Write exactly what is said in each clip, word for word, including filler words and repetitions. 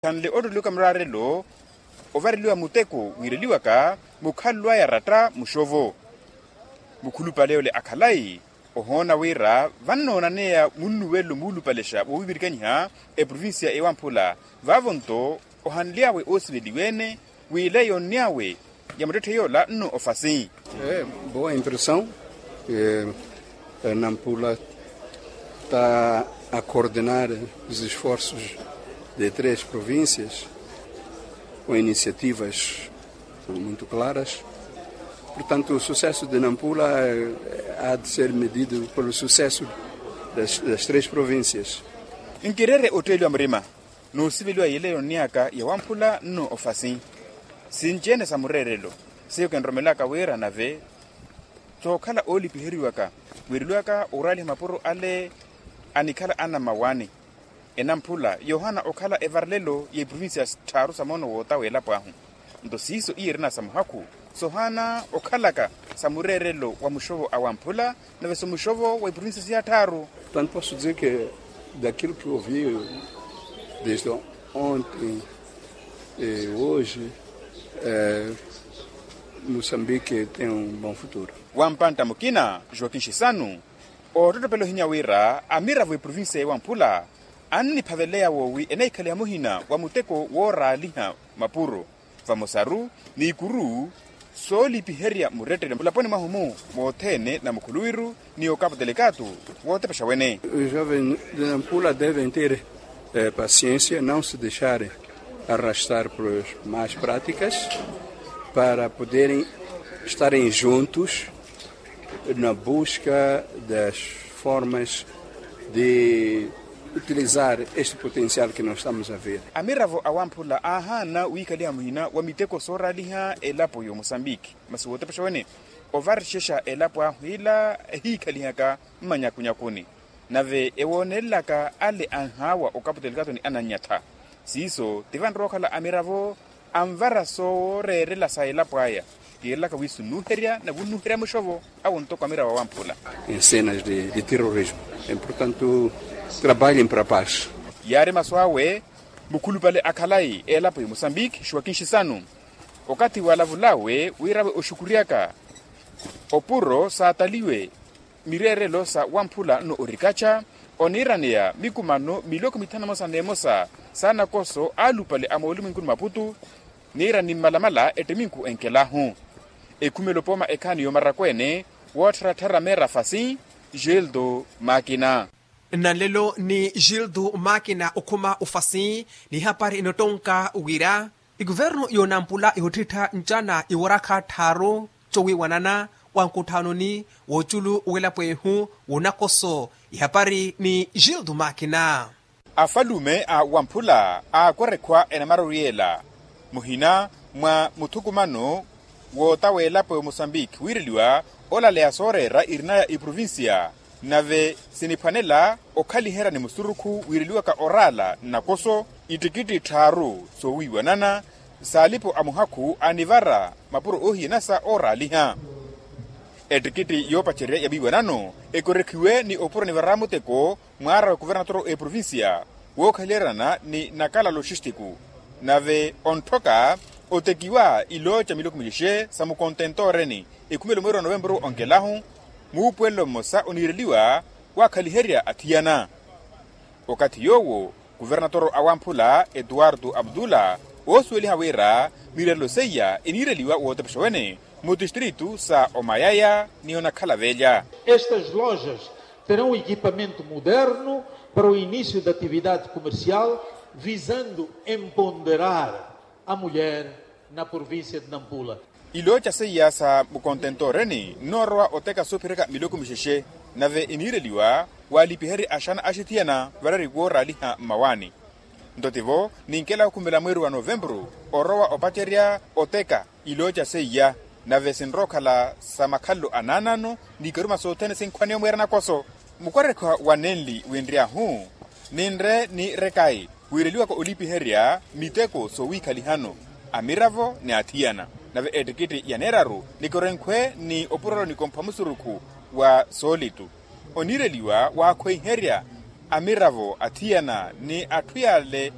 Khanle ottoliwaka muraarelo ovareliwa muteko wiireliwaka mukhalwaya ratta muxovo. Mukhulupale ole akhalayi ohoona wira vannoonaneya munnuwelo muulupalexa woowivirikanyiha eprovincia ewamphula. Vaavo-nto ohanly'awe oosiveliwa-ene w'ila yoonny'awe ya muttetthe yoola nno ofasi. Boa impressão. Nampula está a coordenar os esforços de três províncias com iniciativas muito claras. Portanto, o sucesso de Nampula há de ser medido pelo sucesso das três províncias. Nkireere otteeliwa murima n'usiveliwa yile yonniyaka ya wamphula nno ofasi. Sinci-ene sa mureerelo seiyo kinromelaka wira nave sookhala oolipiheriwaka wiireliwaka oraaliha mapuro ale anikhala anamawani. Enamphula yoohana okhala evarelelo ya iprovincia tthaaru sa moono wootawa elapo ahu. Nto siiso iye erina sa muhakhu sohana okhalaka sa mureerelo wa muxovo a wamphula nave so muxovo wa iprovincia siya tthaaru. Tanto posso dizer que daquilo que eu vi desde ontem e hoje, moçambique tem um bom futuro. Wampantta mukina joaquin xisanu oottottopela ohinya wira amiravo eprovincia ewamphula anniphaveleya woowi enahikhaliha muhina wa muteko wooraaliha mapuro vamosaru n'ikuru soolipiherya murettele mulaponi mwahu-mu mothene na mukhuluwiru ni okapu telekaatu wootepexa wene. Os jovens de nampula devem ter paciência, não se deixarem arrastar por más práticas para poderem estarem juntos na busca das formas de utilizar este potencial que nós estamos a ver. Amiravo awamphula aahaana wiikhaliha muhina wa miteko sooraaliha elapo y'omosambiki masi wootepexa wene ovarixexa elapo ahu ila ehiikhalihaka mmanyakunyakuni nave ewoonelelaka ale anhaawa okapu telekaatu ni anannyatha. Siiso tivanrookhala amiravo anvara sooreerela sa elapo aya kiirelaka wiiso nnuuherya na vunnuuherya muxovo awo ntoko amiravo awamphula. Em cenas de terrorismo, portanto trabalhem para paz. Yaari masu awe mukhulupale akhalayi elapo y'omosambiki joaquin xisanu okathi walavul'awe wira awe oxukuryaka opuro saataliwe mireerelo sa wamphula nno orikaxa oniiraneya mikumano miloko mithanu emosa n'emosa sa nakoso alupale a moolumwenkuni maputu niira ni mmalamala ettiminku enkelahu ekhumela opooma ekhaani y'omarakweene woottharattharya meera fasi. Gildo makina. Nnanlelo ni gildo makina okhuma ofasi n'ihapari enottonka wira ikuvernu y'onampula ihottittha ncana iwarakha tthaaru cowiiwanana wa nkutthanoni w'oculu w'elapo ehu w'onakoso ihapari ni gildo makina. Afalume a wamphula aakwerekhwa enamara oriyela muhina mwa muthukumano wootawa elapo y'omosambiki wiireliwa olaleya sooreera irinaya iprovincia nave siniphwanela okhaliherya ni musurukhu wiireliwaka oraala nnakoso ittikitti tthaaru soowiiwanana saalipo a muhakhu anivara mapuro oohiyanasa ooraaliha. Ettikitti yoopacerya ya miiwanano ekorekhiwe ni opuro nivara muteko mwaara wa kuvernatoro eprovincia wookhaliheryana ni nakala loxistiku nave ontthoka otekiwa ilooca miloko milexe sa mukontentoreni ekhumelo mweeri wa novempuru onkelahu muupuwelelo mmosa oniireliwa waakhaliherya athiyana. Okathi yoowo kuvernatoro awamphula etuwartu abdula oosuweliha wira mireerelo seiya eniireliwa wootepexa wene mutistritu sa omayaya ni onakhala velya. Estas lojas terão equipamento moderno para o início da atividade comercial visando empoderar a mulher na província de nampula. Ilooca seiya sa mukontentoreni nnoorowa oteka soophiryaka miloko mixexe nave eniireliwa waalipiherye axana axithiyana varari wooraaliha mmawaani. Nto tivo ninkela okhumela mweeri wa novempuru orowa opacerya oteka ilooca seiya nave sinrookhala sa makhalelo a naanaano ni ikaruma sothene sinkhwaneya omweera nakoso. Mukwarekha wa nenli winry'ahu ninre ni rekayi wiireliwaka olipiherya miteko soowiikhalihano amiravo ni athiyana nave ettikitti ya neeraru nikorenkhwe ni opurelo nikompha musurukhu wa soolitu oniireliwa waakhweiherya amiravo athiyana ni atthu yaale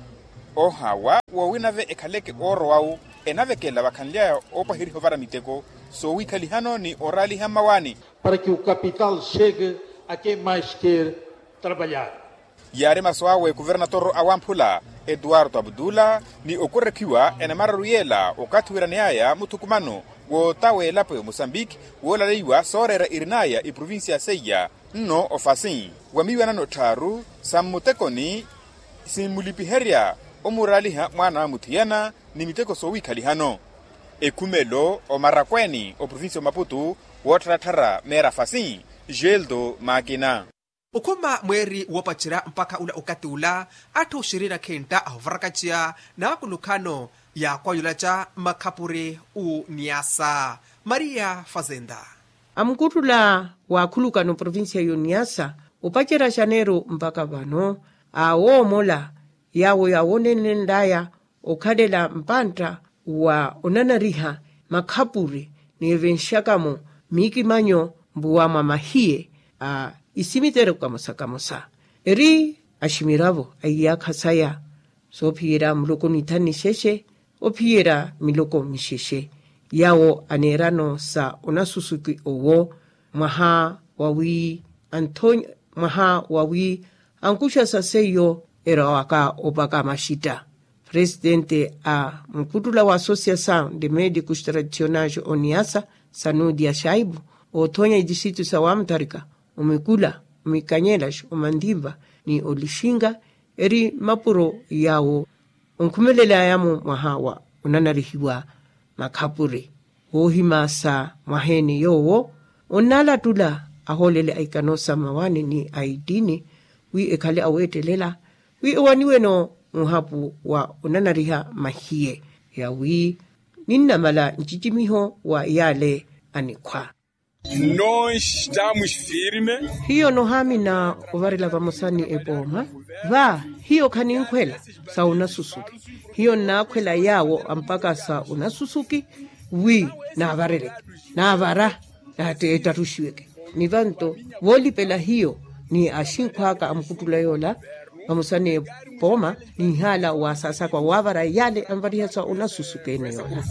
Ohawa woowinave ekhaleke ooro wawu enavekela vakhanly'aya oopwaheriha ovara miteko soowiikhalihano ni oraaliha mmawaani. Para ki okapital chegue a ken mais ker trabalhar. Yaari masu awe kuvernatoro awamphula etuwarto abutula ni okurekhiwa enamararu yeela okathi wiraney'aya muthukumano w'ota w'elapo ya musambiki woolaleiwa sooreera irin'aya eprovincia seiya nno ofasi wa miiwanano tthaaru sa mmutekoni simmulipiherya omuraaliha mwaana a muthiyana ni miteko soowiikhalihano ekhumelo omarakweeni oprovincia omaputu woottharattharya meera fasi geldo maakina. Okhuma mweeri woopacerya mpakha ula okathi ula atthu xirina khintta ahovarakaceya n'akulukhano yaakwayulaca mmakhapuri uniyasa maria fazenda. Amukuttula wa akhulukano provincia y'oniyasa opacerya xaneeru mpakha vano awoomola yaawo yaawonenlenl'aya okhalela mpantta wa onanariha makhapuri ni evenxakamo miikimanyo mpuwa mwa mahiye a isimiteryo kamosa kamosa eri aximiravo a iyaakha saya soophiyerya muloko nithanu nixexe ophiyerya miloko mixexe yaawo aneerano sa onasusuki owo mwaha wawi anthonya mwaha wawi ankuxa sa seiyo erawaka opaka maxita. Presitente a mukuttula wa associação de médicos tradicionais oniyasa sanudia xaibu oothonya itixitu sa wamutharika omikula omikanyelaxo omantimpa ni olixinka eri mmapuro yaawo onkhumelel'aya-mo mwaha wa onanarihiwa makhapuri woohimasa mwaha-ene yoowo onnalattula ahoolele a ikano sa mmawaani ni a ittini wi ekhale aweettelela wi ewaniwe-no muhapu wa onanariha mahiye yawi ninnamala ncicimiho wa yaale anikhwa. Nonxitamus firme. Hiyo nohaamina ovarela vamosa ni epooma va hiyo khaninkhwela sa onasusuki hiyo nnaakhwela yaawo ampaka sa onasusuki wi naavareleke naavara naattettaruxiweke ni vanto voolipela hiyo ni axinkhw'aka amukuttula yoola vamosa ni epooma ninhaala waasasakwa waavara yaale anvariha sa onasusuka ene yoola.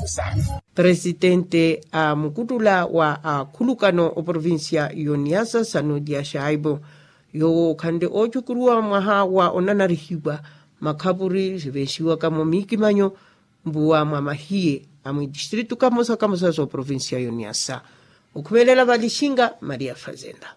Presitente a mukuttula wa akhulukano oprovincia y'oniyasa sanudia xaibo yoowo khanle oocukuruwa mwaha wa onanarihiwa makhapuri sivenxiwaka-mo miikimanyo mpuwa mwa mahiye a mwitistritu kamosa kamosa sooprovincia y'oniyasa okhumelela valixinka maria fazenda.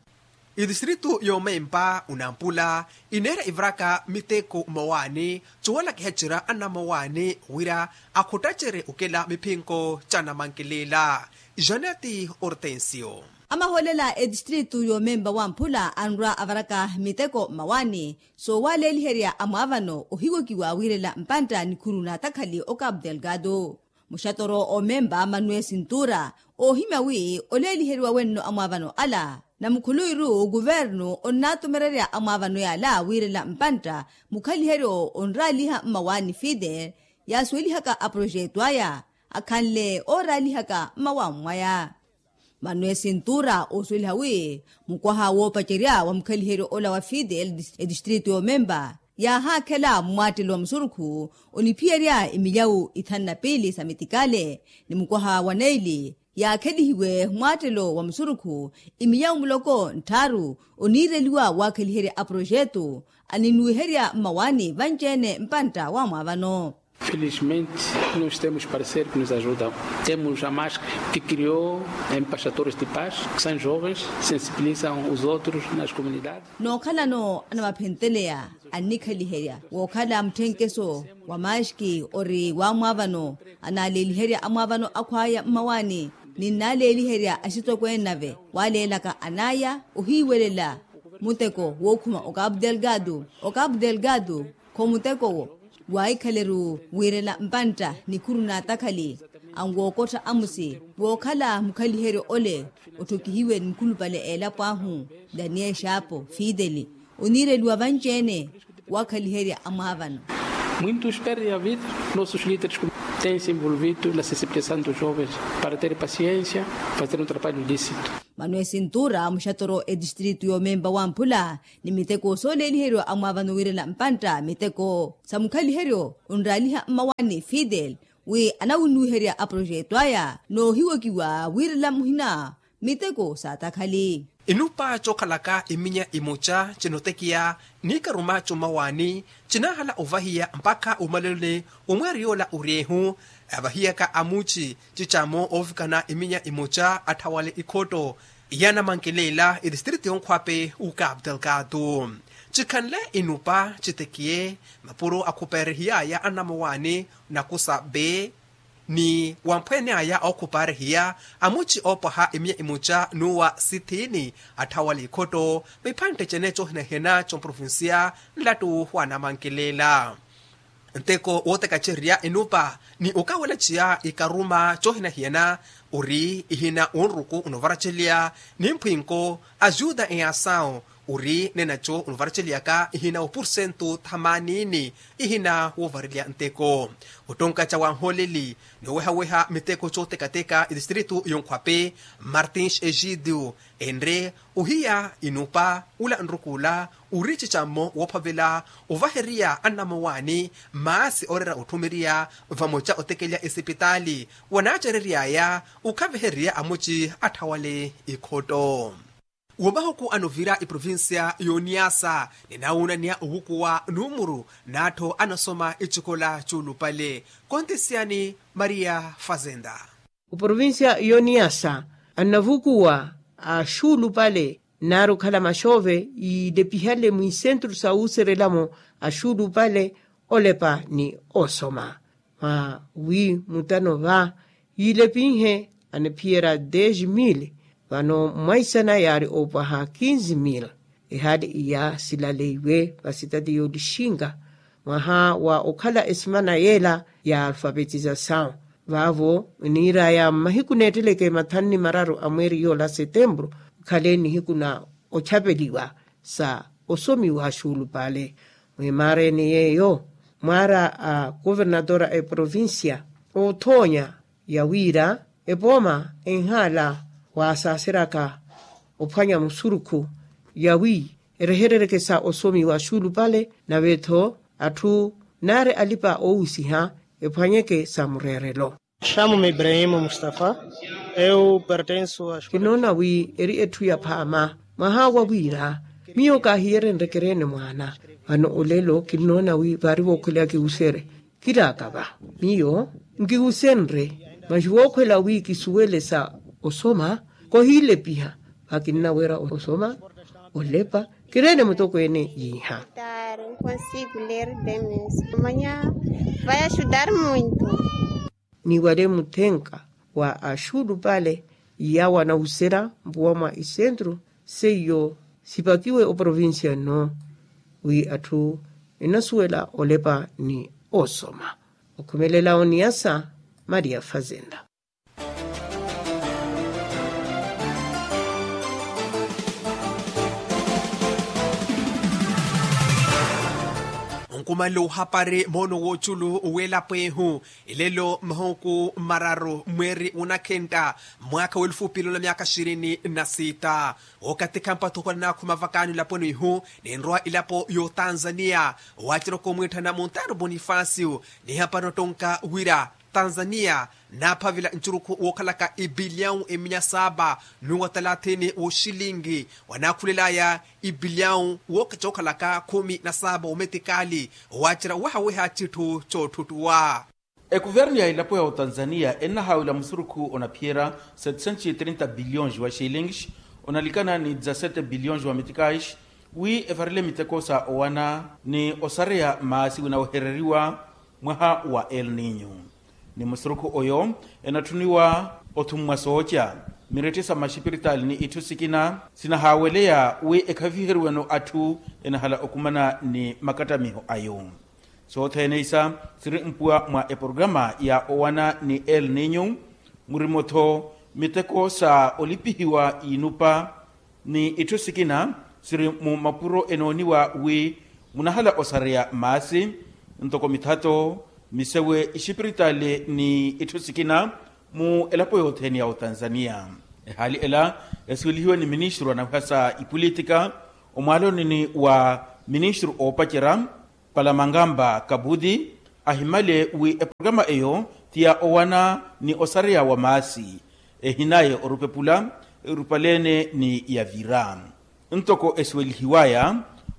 Itistritu y'omempa onampula ineera ivaraka miteko mmawaani coowala kihacerya anammawaani wira akhuttacerye okela miphinko ca namankileela. Janeti ortensio. Amahoolela etistritu y'omempa wamphula anrwa avaraka miteko mmawaani soowaleeliherya amwaavano ohiwokiwa wiirela mpantta nikhuru n'atakhali okapu delgado. Muxatoro omempa manuel sintura oohimya wi oleeliheriwa wenno amwaavano ala na mukhuluwiru kuvernu onnaatumererya amwaavano yaala wiirela mpantta mukhaliheryo onraaliha mmawaani fide yaasuwelihaka aprojetu aya akhanle ooraalihaka mmawaani mwaya. Manuel sintura oosuweliha wi mukwaha woopacerya wa mukhaliheryo ola wa fidel etistritu y'omempa yaahaakhela mmwaattelo wa musurukhu oniphiyerya emilyawu ithanu na piili sa mitikale ni mukwaha wa neili yaakhelihiwe mmwaattelo wa musurukhu emilyawu muloko ntthaaru oniireliwa waakheliherya aprojetu aninnuwiherya mmawaani vanci-ene mpantta wa mwaavano. Felizmente nós temos parceiros que nos ajudam. Temos a mask que criou em pastores de paz que são jovens, sensibilizam os outros nas comunidades. Nookhalano anamaphenteleya annikhaliherya wookhala mutthenkeso wa maski ori wamwaavano anaaleeliherya amwaavano akhwaya mmawaani ninnaaleeliherya axitokweene nave waleelaka anaya ohiiwelela muteko wookhuma okapu delgado okapu delgado kho muteko wo waahikhaleru wiirela mpantta nikhuru n'atakhali anwookottha amusi wookhala mukhaliheryo ole otthokihiwe ni mukhulupale a elapo ahu daniel xaapo fideli oniireliwa vanci-ene waakhaliherya amwaavano. Muintus perdi a vida. Nosus lideres tensi envolvidu na sensibilizasaun dos jovens para ter pasiensia, fazer un traballu ilisitu. Manuel sintura muxatoro etistritu y'omempa wamphula ni miteko sooleeliheryo amwaavano wiirela mpantta miteko sa mukhaliheryo onraaliha mmawani fidel wi anawunnuwiherya aprojeto aya noohiwokiwa wiirela muhina miteko saatakhali. Inupa cookhalaka iminya imoca cinotekiya niikaruma commawani cinaahala ovahiya mpakha omaleloni omweeri yoola oryeehu avahiyaka amuci cicamo oovikana iminya imoca atthawale ikhotto. Iyaana mankelela etistritu yonkhwape ukapu delgado cikhanle inupa citekiye mapuro akhupeerihiyaya anamawani nakusa be ni wamphweene aya ookhupaarihiya amuci oopwaha imiya imuca n'uwa sithiini atthawale ikhotto miphantte cene coohinahiyana comprovinsiya nlattu wa namankelela. Nteko wootekacerya inupa ni okawelaciya ikaruma coohinahiyana ori ihina wonruku onovaraceliya nimphwinko ajuda eyasawu ori nenaco onovaracelyaka ihina wa pursentu thamanini ihina woovarelya nteko. Ottonka ca wanhooleli noowehaweha miteko cootekateka etistritu yonkhwape martins egidio enre ohiya inupa ula nrukuula ori cicammo woophavela ovaheriya anamawani maasi ooreera otthumeriya vamoca otekelya esipitaali wanaacereryaya okhavihererya amuci atthawale ikhotto. Wa mahuku anovira eprovinsiya y'oniyasa ninawuunaniha owukuwa numuru n'atthu anasoma ecikola c'ulupale. Kontisiyani maria fazenda. Oprovinsiya y'oniyasa annavukuwa axuulupale nnaari okhala maxoove yiilepihale mwiisentru sa wuuserelamo axuulupale olepa ni osoma mwa wi mutano va yiilepinhe aniphiyerya dez mil vano mwaisana yaari oopwaha kinzi mil. Ehaali iya silaleiwe vasitati yoolixinga mwaha wa okhala esimana yeela ya alfapetizasawu vaavo niiraya mmahiku neetteleke mathanu ni mararu a mweeri yoola setempuru okhale nihiku na ochapeliwa sa osomiwa axuulupale. Mwimaareni yeeyo mwaara a kuvernatora a eprovinsiya oothoonya ya wira epooma enhaala waasaaseryaka ophwanya musurukhu ya wi erehereryeke sa osomiwa axuulupale nave-tho atthu naari alipa oowisiha ephwanyeke sa mureerelo. Xamume ibrahimu mustafa. Eu pertensu a kinoona wi eri etthu ya phaama mwaha wa wira miyo kaahiyerenrekereene mwaana vano olelo kinoona wi vaari vookhweleya kiwusere kiraaka va miyo nkiwusenre maxi vookhwela wi kisuwele sa osoma kohiilepiha vakinnaweera osoma olepa kireene mutokweene yiiha. Consigo ler bem mesmo amanhã vai ajudar muito. Ni wale muthenka wa axuulupale yawo anawusera mpuwa mwa isentru seiyo sipakiwe oprovinsiya nno wi atthu enasuwela olepa ni osoma. Okhumelela oniyasa maria fazenda. Onkumanle ohapari moono w'oculu w'elapo ehu elelo mahuku mararu mweeri w'onakhentta mwaakha w'elufu piilolo myaka xirini na sitta. Okathi khampathukhula naakhuma vakaani olaponi ihu ninrowa elapo y'otanzaniya waaceraka omwiitthana montaru bonifasiyo nihapari nottonka wira tanzaniya naaphavela ncurukhu wookhalaka ipiliyawu eminya saapa nuwa talathini wooxilingi wanaakhulelayaya ipiliyawu cookhalaka khumi na saapa wometikali owaacerya owehaweha citthu coottuttuwa. Ekuvernu ya elapo ya otanzaniya ennahaawela musurukhu onaphiyerya sete sentos e trinta biliyons wa xilingi onalikana ni dezasete biliyons wa metikais wi evarele miteko sa owana ni osareya maasi winawehereriwa mwaha wa el ninyo. Ni musurukhu oyo enatthuniwa othummwa sooca miretti sa maxipiritaali ni itthu sikina sinahaaweleya wi ekhaviheriweno atthu enahala okumana ni makattamiho ayo. Sothene isa siri mpuwa mwa eporogaramu ya owana ni el ninyo murimo-tho miteko sa olipihiwa inupa ni itthu sikina siri mu mapuro enooniwa wi munahala osareya maasi Ntoko mithato, misewe, ixipiritaali ni itthu sikina mu elapo yothene ya otanzania. Ehaali ela, esiwelihiwe ni ministru anawiha sa ipulitika omwaaloni wa ministru oopacerya, palamangamba kabuti, ahimale wi eporokama eyo ti ya owana ni osareya wa maasi, ehinaye orupepula erupaleene ni yavira. Ntoko esiwelihiwaya,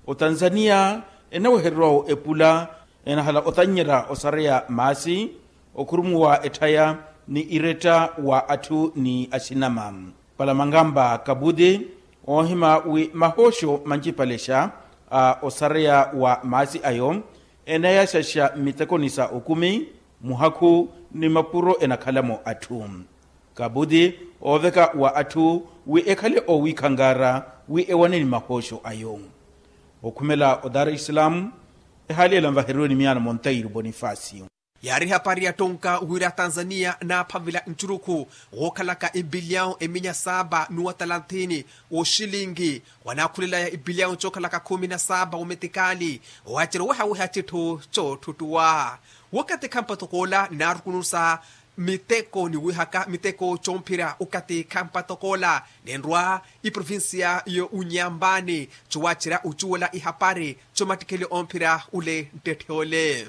otanzania enaweheriwawo epula enahala otannyerya osareya maasi, okhurumuwa etthaya ni iretta wa atthu ni axinama. Palamangamba kabuti, oohima wi mahooxo mancipalexa a osareya wa maasi ayo enayaxaxa mmitekoni sa okumi, muhakhu ni mapuro enakhalamo atthu. Kabuti ooveka wa atthu wi ekhale owiikhankaara wi ewane ni mahooxo ayo. Okhumela o dar es salaam, ehaali ela nvaheriwe ni miyaano monteiro bonifacio. Yaari ehapari ya ttonka wira tanzania naaphavela ncurukhu wookhalaka empilyawu eminya saapa n'uwa talanthini wooxilinki, wanaakhulelaya empilyawu cookhalaka khumi na saapa wometikali, waacerya owehaweha citthu coottuttuwa. Wakathi khampa tokoola naarukunusa miteko niwihaka miteko coomphira wakathi khampa tokoola, nenrwa iprovincia yo unyambani cowaacerya ocuwela ihapari comattikhele omphira ule nttetthe ole.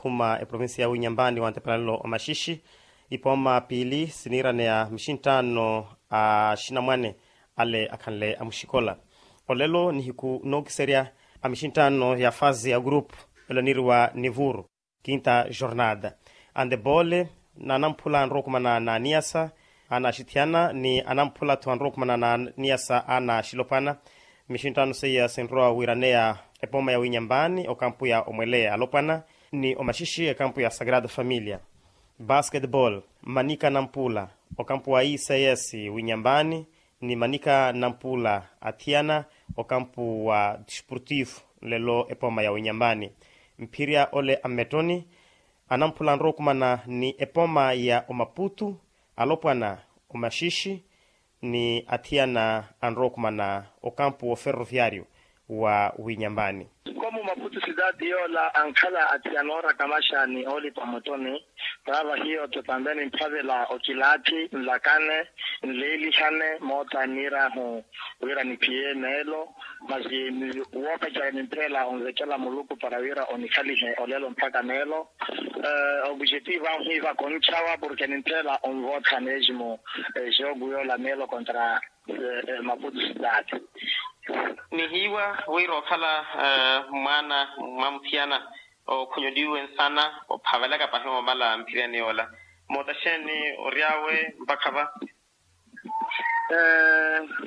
Khuma eprovincia ya winyambani wa ntepelanelo omaxixi, ipooma piili siniiraneya mixinttaano a axinamwane ale akhanle amuxikola. Olelo nihiku nookiserya a mixinttaano ya fase ya grupu, elo aniiriwa nivuru kinta jornada. Antepole, n'anamphula anrowa okumana n'aniyasa anaaxithiyana ni anamphula-tho anrowa okumana n'aniyasa anaaxilopwana. Mixinttaano seiya sinrowa wiiraneya epooma ya winyambani okampu ya omweleya alopwana ni omaxixi ekampu ya sagrada familia. Basketball, manika nampula okampu wa ics winyambani ni manika nampula athiyana okampu wa desportivo nlelo epooma ya winyambani. Mphirya ole a mmettoni anamphula anrowa okumana ni epooma ya omaputu alopwana omaxixi ni athiyana anrowa okumana okampu wo ferroviario wa winyambani. Komu maputu sitati yoola ankhala athiyana oorakamaxa ni oolipa mwettoni. Vaava hiyo totambeni mphavela okilaathi nlakane nleelihane moota nniirahu wira niphiye meelo. Masi woopacerya nimphela onvekela muluku para wira onikhalihe olelo mpakha meelo. Obujetivu ahu hiiva konchawa porke nimphela onvootha mesmo jogu yoola meelo kontra maputu sitati. Nihiiwa wira okhala mwaana mwa muthiyana okhunyoliwe nsana ophavelaka pahi omala mphiriyani yoola. Moota xeeni ory'awe mpakha va?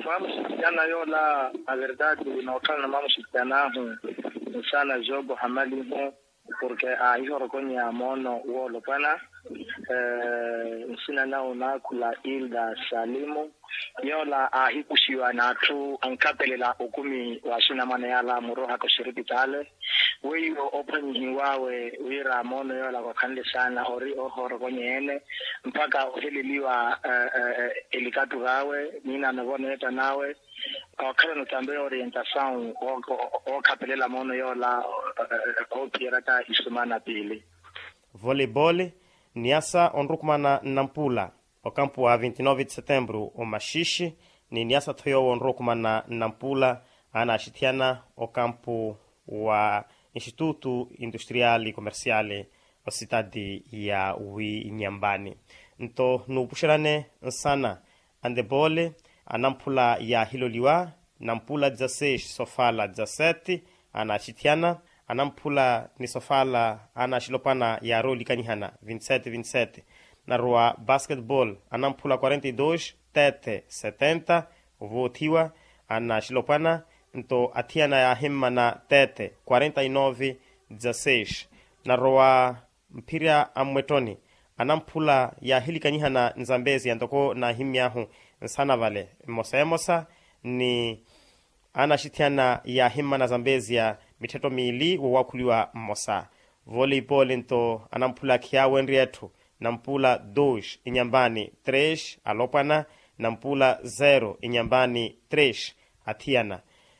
Mwamuxitiyana yoola averdade nookhalana mwamuxitiyan'ahu nsana jogo hamalihu porke aahihorokonyeya moono woolopwana. Nsina nawe onaakhula ilda salimu yoola aahikuxiwa n'atthu ankhapelela okumi w'axinamwane yaala murohaka oxiripitaale. Weiwo ophwanyihiw'awe wira moono yoola khwakhanle saana ori oohorokonyeya-ene mpakha oheleliwa elikattu v'awe niinaano voneetta n'awe. Okhalana otambe orientasawu ookhapelela moono yoola oophiyeryaka isumana piili. Voleibole niyasa onrukumana nnampula okampu wa vinti nove de setembru omaxiixi ni niyasa-tho yoowo onrukumana nnampula anaaxithiyana okampu wa institutu industriali comerciali ositati ya winyambani. Nto nuupuxerane nsana antepoole anamphula yaahiloliwa nampula dezaseix sofala dezasete anaaxithiyana anamphula ni sofala anaaxilopwana yaarowa olikanyihana vintisete vintisete. Narowa basketball anamphula quarenta e dos tete setenta ovoothiwa anaaxilopwana nto athiyana yaahimmana tete quarenta e nove dezaseix. Narowa mphirya a mmwettoni anamphula yaahilikanyihana nzambezi ya ntoko naahimmy'ahu nsana vale mmosa emosa ni anaxithiyana yaahimmana zambezi ya mitthetto miili woowaakhuliwa mmosa. Voleibole nto anamphula khiyaawenrye etthu nampula dos inyambani tres alopwana nampula zero inyambani tres athiyana.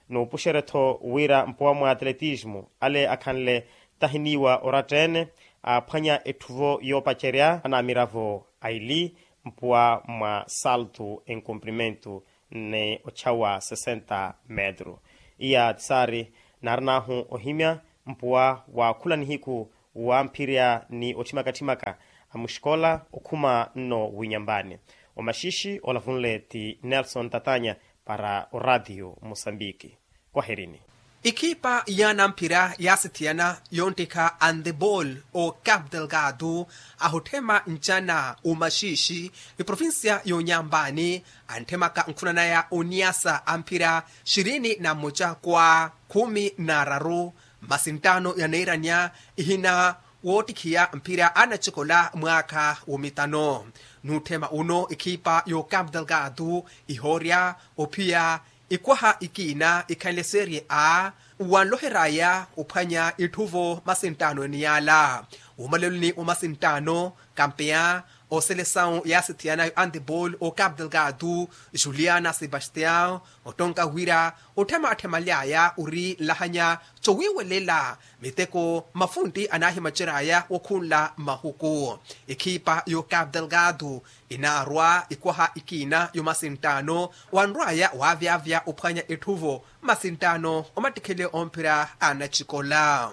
Nuupuxerye-tho wira mpowa mwa atletismu ale akhanle Tahiniiwa oratta-ene aaphwanya etthuvo yoopacerya anaamiravo aili mpuwa mwa saltu enkumprimentu ni ochawa sesenta metru. Iya tisaari naarin'ahu ohimya mpuwa wa khula nihiku wamphirya ni otthimaka-tthimaka a muxikola okhuma nno winyambani. Omaxiixi olavunle ti nelson tatanya para oratiyo musambiki. Kwaherini. Ikhipa yaanamphira yaasithiyana yonttikha antebol o cap delgado ahutthema ncana omaxiixi iprovincia yonyambani antthemaka nkhuna naya oniyasa amphira xirini na mmoca kwa khumi na araru masi nttaano yaneeranya ihina woottikhiya mphira anacikola mwaakha womitano. Nutthema uno ikhipa yo cap delgado ihoorya ophiya ikwaha ikiina ikhanle serie a wanloher'aya ophwanya itthuvo masi nttaano eniyaala. Wumaleloni wa masi nttaano kampeya oselesawu yaasithiyanayo antebol o cap delgado juliana sebastian ottonka wira otthema atthemaly'aya ori nlahanya cowiiwelela miteko mafuntti anaahimacery'aya wokhunla mahuku. Ikhipa yo cap delgado inaarwa ikwaha ikiina yo masi nttaano wanrw'aya waavyavya ophwanya etthuvo masi nttaano omattikhele omphira anacikola.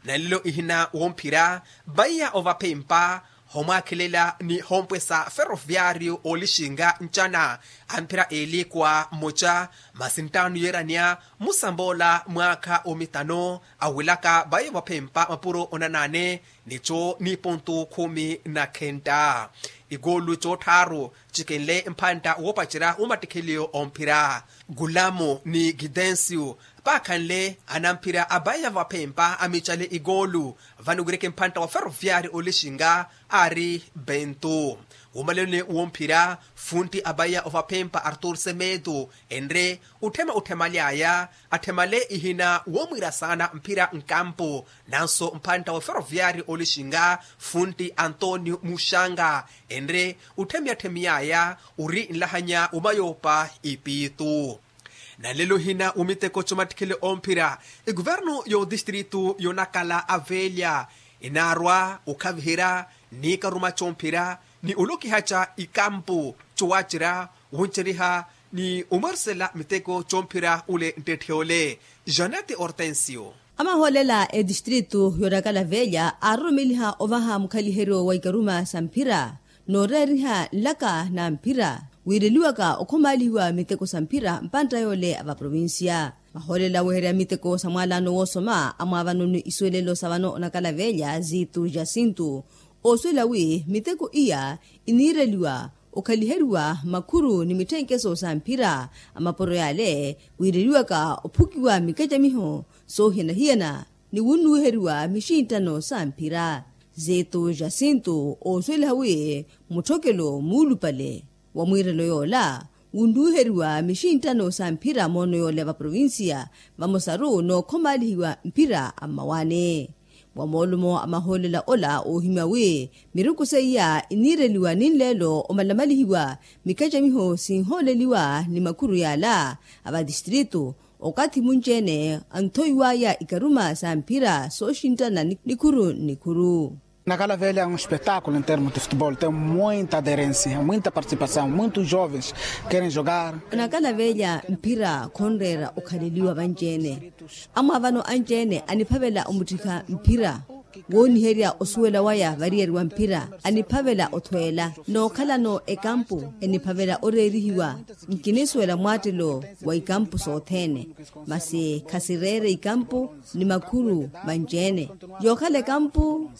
Nalelo ihina womphira vaiya ovaphempa homwaakhelela ni hompwesa ferroviario olixinga ncana amphira eeli kwa mmoca masi nttaano yeeranya musamboola mwaakha omitano awelaka vaiya ovaphempa mapuro onanaane nico ni pontu khumi na khenta. Ikoolu coottharu cikenle mphantta woopacerya wumattikheliyo omphira gulamo ni gidensio paakhanle anamphira abaiya vaphempa amicale ikoolu. Vano wireke mphantta wa ferroviari olixinga aari bentu wumaleloni womphira funtti abaiya ovaphempa artur semedo enre utthema utthemaly'aya atthemale ihina woomwiira saana mphira nkampu nanso mphantta wa ferroviari olixinga funtti antonio muxanga enre utthemiya-tthemiy'aya ori nlahanya wumayoopa ipiitu. Nalelo hina wumiteko comattikhele omphira ekuvernu y'odistritu yonakala avelya inaarwa okhaviherya ni karuma comphira ni olokihaca ikampu cowacerya wonceriha ni omwerisela miteko comphira ule nttetthe ole. Janete hortensio. Amahoolela etistritu yonakala velya aaroromeliha ovaha mukhaliheryo wa ikaruma sa mphira nooreeriha nlaka na mphira wiireliwaka okhomaalihiwa miteko sa mphira mpantta yoole a vaprovincia. Mahoolela weherya miteko sa mwaalano woosoma amwaavano ni isuwelelo sa vano onakala velya ziitu jasintu oosuwela wi miteko iya iniireliwa okhaliheriwa makhuru ni mitthenkeso sa mphira a mapuro yale wiireliwaka ophukiwa mikacamiho soohiyana-hiyana ni wunnuwiheriwa mixinttano sa mphira. Zeetu jasintu oosuweliha wi mutthokelo muulupale wa mwiirelo yoola wunnuwiheriwa mixinttano sa mphira moono yoola ya vaprovincia vamosaru nookhomaalihiwa mphira a mmawaani. Wa moolumo a mahoolela ola oohimya wi miruku seiya iniireliwa ni nleelo omalamalihiwa mikacamiho sinhooleliwa ni makhuru yaala a vatistritu okathi munci-ene anthoiwaya ikaruma sa mphira sooxinttana nikhuru nikhuru. Nakala velha é um espetáculo em termos de futebol, tem muita aderência, muita participação, muitos jovens querem jogar. Onakala velha mphira khonreera okhaleliwa vanci-ene. Amwaavano anci-ene aniphavela omuttikha mphira wooniherya osuwela waya variyari wa mphira aniphavela othweela nookhalano ekampu eniphavela oreerihiwa. Nkinisuwela mwaattelo wa ikampu sothene masi khasireere ikampu ni makhuru vanci-ene. Yookhala ekampu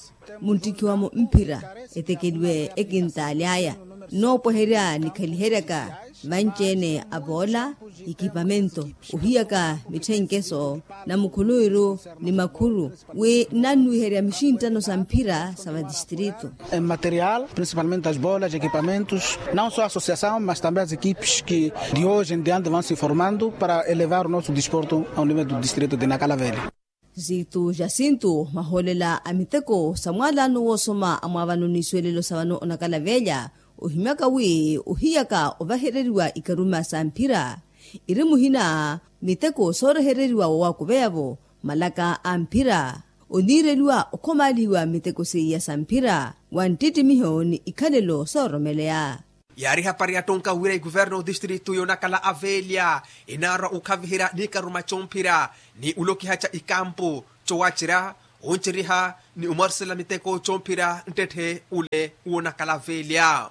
munttikhiwamo mphira etekeliwe ekintaali aya noopweherya nikhaliheryaka vanci-ene avoola ekipamento ohiyaka mitthenkeso na mukhuluwiru ni makhuru wi nnannuwiherya mixinttano sa mphira sa vatistritu. Em material principalmente as bolas ekipamentos, não só a associação mas também as equipes que de hoje em diante vão se formando para elevar o nosso desporto ao nível do distrito de nakala velha. Zitu jasintu mahoolela a miteko sa mwaalano woosoma a mwaavano n'isuwelelo sa vano onakala velha ohimyaka wi ohiyaka ovahereriwa ikaruma sa mphira iri muhina miteko soorehereriwa wa waakuveya-vo malaka a mphira oniireliwa okhomaalihiwa miteko seiya sa mphira wa nttittimiho ni ikhalelo sooromeleya. Yaari ehapari yattonka wira ikuverno otistritu yoonakhala aveelya inaarwa okhaviherya ni ikaruma comphira ni olokiha ca ikampu cowacerya onceriha ni omwarisela miteko comphira nttette ole woonakhala aveelya.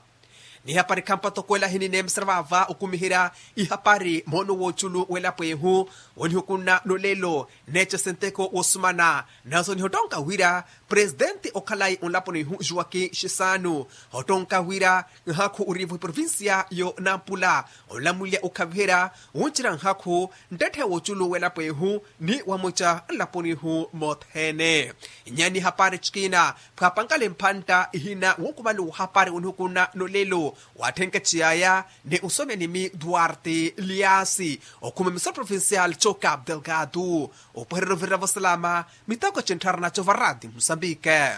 Ni hapari khampa tokwela hinineemesera vaava okumiherya ihapari moono wooculu w'elapo ehu wonihukunna nolelo neecese nteko woosumana nanso nihotonka wira presitenti okhalayi onlaponi ihu juwaki xisanu hotonka wira nhaakhu oriivo eprovincia yo nampula onlamulya okhaviherya wuncerya nhaakhu nttette wooculu w'elapo ehu ni wamuca nlaponi ihu mothene. Nyani hapari cikina pwaapankale mphantta ihina wonkuvali wohapari onihukunna nolelo watthenke ciyaya ni osomya nimi duarte liasi okhuma emisoro provincial co cap delgado opwehererya ovirira vosalama miteko cintthara naco varati musambike.